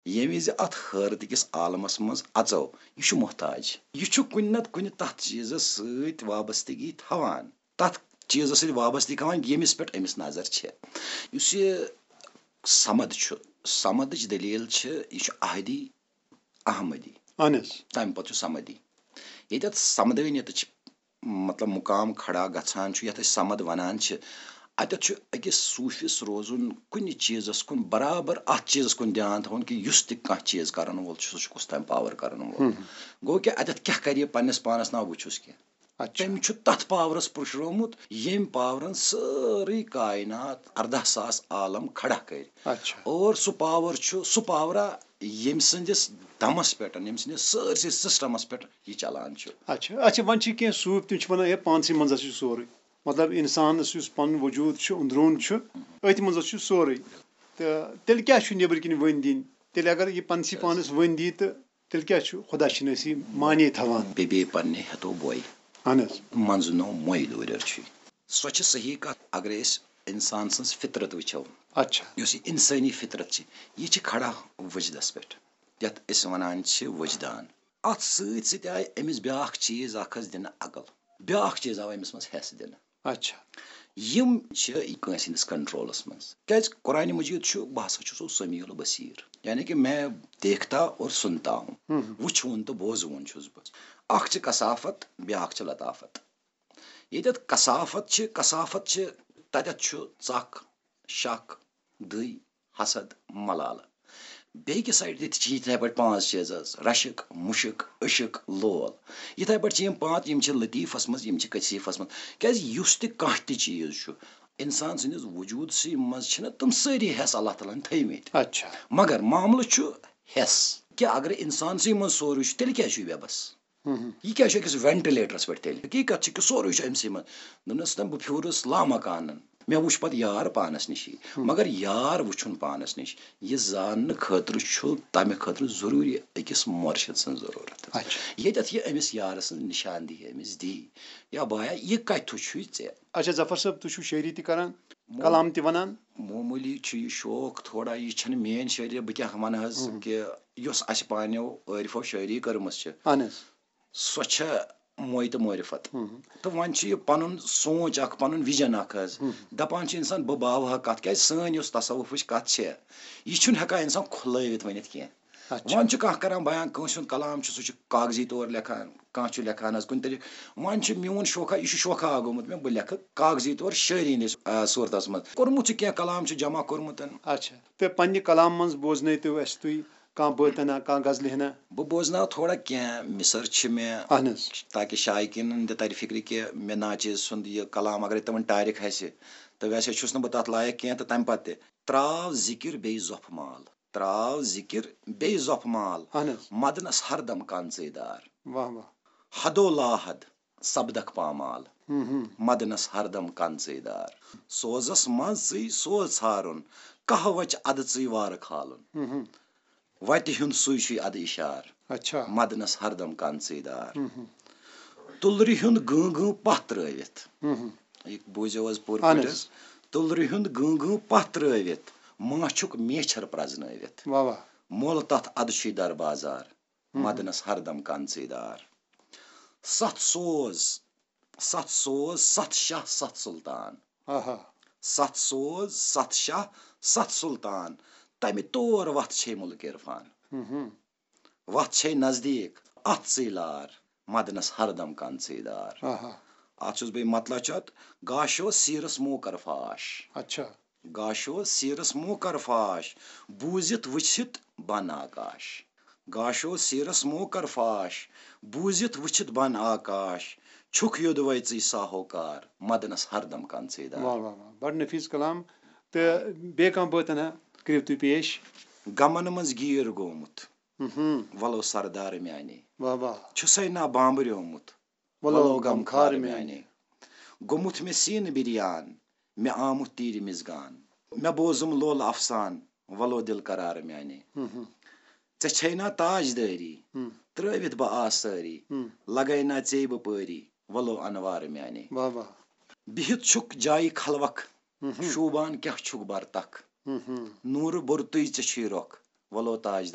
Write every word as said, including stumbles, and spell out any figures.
ییٚمہِ وِزِ اَتھ حٲرتہٕ کِس عالمس منٛز اَژو، یہِ چھُ محتاج۔ یہِ چھُ کُنہِ نتہٕ کُنہِ تَتھ چیٖزس سۭتۍ وابستگی تھاوان، تَتھ چیٖزس سۭتۍ وابستگی تھاوان، ییٚمِس پٮ۪ٹھ أمِس نظر چھِ۔ یُس یہِ صمد چھُ، صمدٕچ دٔلیٖل چھِ، یہِ چھُ احدی احمدی۔ اہن حظ۔ تَمہِ پتہٕ چھُ صمدی۔ ییٚتٮ۪تھ صمدٲنیتٕچ مطلب مقام کھڑا گژھان چھُ، یَتھ أسۍ صمد وَنان چھِ، اَتٮ۪تھ چھُ أکِس صوٗفِس روزُن کُنہِ چیٖزَس کُن، برابر اَتھ چیٖزَس کُن دیان تھاوُن کہِ یُس تہِ کانٛہہ چیٖز کَرَن وول چھُ، سُہ چھُ کُس تام پاور کَرَن وول۔ ہُم۔ گوٚو کہِ اَتٮ۪تھ کیٛاہ کَرِ یہِ پنٛنِس پانَس؟ نہ وٕچھُس کینٛہہ۔ اچھا۔ تٔمۍ چھُ تَتھ پاورَس پُشرومُت، ییٚمۍ پاورَن سٲرٕے کاینات، اَرداہ ساس عالم کھڑا کٔرۍ۔ اچھا۔ اور سُہ پاور چھُ، سُہ پاورا ییٚمۍ سٕنٛدِس دَمَس پٮ۪ٹھ، ییٚمۍ سٕنٛدِس سٲرسٕے سسٹمَس پٮ۪ٹھ یہِ چلان چھُ۔ اچھا، اچھا، وۄنۍ چھِ کینٛہہ صوٗفۍ، تِم چھِ وَنان، ہے، پانسٕے منٛز ہسا چھُ سورُے۔ مطلب، اِنسانَس یُس پَنُن وجوٗد چھُ، أنٛدروٗن چھُ، أتھۍ منٛز ہسا چھُ سورُے۔ تہٕ تیٚلہِ کیٛاہ چھُ نیٚبٕرۍ کِنۍ ؤنۍ دِنۍ؟ تیٚلہِ اگر یہِ پَنسٕے پانَس ؤنۍ دی، تہٕ تیٚلہِ کیٛاہ چھُ خۄدا شِنٲسی معنی تھاوان؟ بیٚیہِ بیٚیہِ پَننہِ ہیٚتو بوے۔ اہن حظ۔ منٛزٕ نو موے دوٗرٮ۪ر چھُے۔ سۄ چھِ صحیح کَتھ۔ اگر أسۍ اِنسان سٕنٛز فطرت وٕچھو، اچھا۔ یۄس یہِ اِنسٲنی فطرت چھِ، یہِ چھِ کھڑا وجدس پٮ۪ٹھ، یَتھ أسۍ وَنان چھِ وجدان۔ اَتھ سۭتۍ سۭتۍ آیہِ أمِس بیٛاکھ چیٖز اَکھ حظ دِنہٕ، عقل۔ بیٛاکھ چیٖز آو أمِس منٛز حٮ۪س دِنہٕ۔ اچھا۔ یِم چھِ کٲنٛسہِ ہٕنٛدِس کنٹرولس منٛز۔ کیٛازِ قرآنِ مجیٖد چھُ، بہٕ ہسا چھُسو سمیع البصیر، یعنی کہ میں دیکھتا اور سنتا ہوں۔ ہم۔ وٕچھوُن تہٕ بوزوُن چھُس بہٕ۔ اکھ چھِ کثافت، بیٛاکھ چھِ لطافت۔ ییٚتٮ۪تھ کثافت چھِ، کثافت چھِ، تَتٮ۪تھ چھُ ژکھ، شک، دٕے، حسد، ملالہٕ۔ بیٚیہِ کہِ سایڈٕ تہِ چھِ یِتھَے پٲٹھۍ پانٛژھ چیٖز حظ، رشک، مُشک، عشق، لول۔ یِتھَے پٲٹھۍ چھِ یِم پانٛژھ، یِم چھِ لطیفس منٛز، یِم چھِ کثیفس منٛز۔ کیٛازِ یُس تہِ کانٛہہ تہِ چیٖز چھُ، اِنسان سٕنٛدِس وجوٗدسٕے منٛز چھِنہ تِم سٲری حٮ۪س اللہ تعالیٰ ہن تھٲومٕتۍ۔ اچھا۔ مگر معاملہٕ چھُ حٮ۪س کہِ اگر اِنسانسٕے منٛز سورُے چھُ، تیٚلہِ کیٛازِ چھُ یہِ بے بس؟ ہم۔ یہِ کیٛاہ چھُ أکِس وینٹِلیٹرس پٮ۪ٹھ تیٚلہِ؟ حقیٖقت چھِ کہِ سورُے چھُ أمۍ سٕے منٛز۔ دوٚپنَس، "نہ، بہٕ پھیوٗرُس لامکانن۔ مےٚ وُچھ پتہٕ یار پانس نِشی۔" ہم۔ مگر یار وُچھُن پانس نِش، یہِ زاننہٕ خٲطرٕ چھُ تمہِ خٲطرٕ ضروٗری أکِس مرشد سٕنٛز ضروٗرت۔ اچھا۔ ییٚتٮ۪تھ یہِ أمِس یارٕ سٕنٛز نِشاندہی أمِس دی، یا بایا، یہِ کتہِ چھُے ژےٚ؟ اچھا، ظفر صٲب، تُہۍ چھِو شٲعری تہِ کران، مو-، کلام تہِ ونان؟ معموٗلی چھُ یہِ شوق تھوڑا، یہِ چھَنہٕ میٲنۍ شٲعری، بہٕ کیٛاہ وَنہٕ حظ، ہم۔ کہِ یۄس اَسہِ پانیو عٲرفو شٲعری کٔرمٕژ چھِ، اہن حظ۔ سۄ چھےٚ موے تہٕ معرفت۔ ہم۔ تہٕ وۄنۍ چھُ یہِ پنُن سونچ اکھ، پنُن وِجن اکھ حظ۔ ہم۔ دپان چھُ انسان، بہٕ باوہا کتھ، کیازِ سٲنۍ یۄس تصوفٕچ کتھ چھےٚ، یہِ چھُنہٕ ہٮ۪کان انسان کھُلٲوِتھ ؤنِتھ کینٛہہ۔ اچھا۔ وۄنۍ چھُ کانٛہہ کران بیان، کٲنٛسہِ ہُنٛد کلام چھُ، سُہ چھُ کاغذی طور لیکھان، کانٛہہ چھُ لیکھان حظ کُنہِ طریٖقہٕ۔ وۄنۍ چھُ میون شوخا، یہِ چھُ شوخا گوٚمُت مےٚ، بہٕ لیکھٕ کاغذی طور شٲعری ہِنٛدِس، آ، صوٗرتس منٛز۔ کوٚرمُت چھُ کینٛہہ کلام چھُ جمع کوٚرمُت۔ اچھا، تہٕ پننہِ کلام منٛز بوزنٲیتو اَسہِ تُہۍ کانٛہہ بٲتنا، کانٛہہ غزلہِ ہنا؟ بہٕ بوزناو تھوڑا کینٛہہ مِصر چھِ مےٚ، اہن حظ۔ تاکہِ شایقیٖنن تہِ ترِ فِکرِ کہِ مےٚ ناچیز سُنٛد یہِ کلام اگرے تِمن ٹارِکھ آسہِ، تہٕ ویسے چھُس نہٕ بہٕ تتھ لایق کینٛہہ۔ تہٕ تمہِ پتہٕ تہِ تراو ذِکِر بیٚیہِ زۄپھ مال، تراو ذِکِر بیٚیہِ زۄپھ مال، اہن حظ۔ مدنس ہردم کانژٕے دار۔ واہ واہ۔ حدو لاحد سپدکھ پامال، ہم ہم۔ مدنس ہردم کانژٕے دار۔ سوزس منٛز ژٕے سوز ژھارُن، قہوچ ادٕ ژٕے وارٕ کھالُن۔ ہم ہم۔ وتہِ ہُنٛد سُے چھُے ادٕ اشار، اچھا۔ مدنس ہردم کانژٕے دار۔ ہم ہم۔ تُلرِ ہُنٛد گۭں گۭں پتھ ترٲوِتھ۔ ہم ہم۔ یہِ بوٗزِو حظ پوٗرٕ اہن پٲٹھۍ حظ۔ حظ۔ تُلرِ ہُنٛد گۭں گۭں پتھ ترٲوِتھ، ماچھُک میچھر پرزنٲوِتھ۔ واہ واہ۔ مۄل تتھ ادٕ چھُے در بازار، ہم۔ مدنس ہردم کانژٕے دار۔ ستھ سوز، ستھ سوز، ستھ شاہ، ستھ سلطان۔ آہا۔ ستھ سوز، ستھ شاہ، ستھ سلطان، تمہِ تور وتھ چھے مُلک عرفان۔ ہم ہم۔ وتھ چھے نزدیٖک، اتھ ژٕے لار، مدنس ہردم کانژٕے دار۔ آہا۔ اتھ چھُس بہٕ یہِ مطلب چھُ اتھ، گاشو سیٖرس موکر فاش۔ اچھا۔ گاشو سیٖرس موکر فاش، بوٗزِتھ وٕچھِتھ بن آکاش۔ گاشو سیٖرس موکر فاش، بوٗزِتھ وٕچھِتھ بن آکاش، چھُکھ یوٚدوے ژٕے ساہوکار، مدنس ہردم کانژٕے دار۔ واہ واہ واہ، بڑٕ نفیٖس کلام۔ تہٕ بیٚیہِ کانٛہہ بٲتن ہا کٔرِو تُہۍ پیش؟ غمن منٛز گیٖر گوٚمُت، ہم ہم۔ ولو سردار میانے۔ واہ واہ۔ چھُسے نا بامبریومُت، ولو ولو غمخار غمخار میانے۔ میانے۔ گوٚمُت مےٚ سیٖنہٕ بِریان، مےٚ آمُت تیٖرِ مِزگان۔ مےٚ بوزُم لول افسان، ولو دِل قرار میانے۔ ہم ہم۔ ژےٚ چھے نا تاجدٲری، ہم۔ ترٲوِتھ بہٕ آس سٲری، ہم۔ لگے نا ژے بہٕ پٲری، ولو انوار میانے۔ واہ واہ۔ بِہِتھ چھُکھ جایہِ خلوق، ہم ہم۔ شوٗبان کیٛاہ چھُکھ برتخ۔ ہم ہم۔ نوٗرٕ بوٚرتُے ژےٚ چھُے رۄخ، ولو تاجدار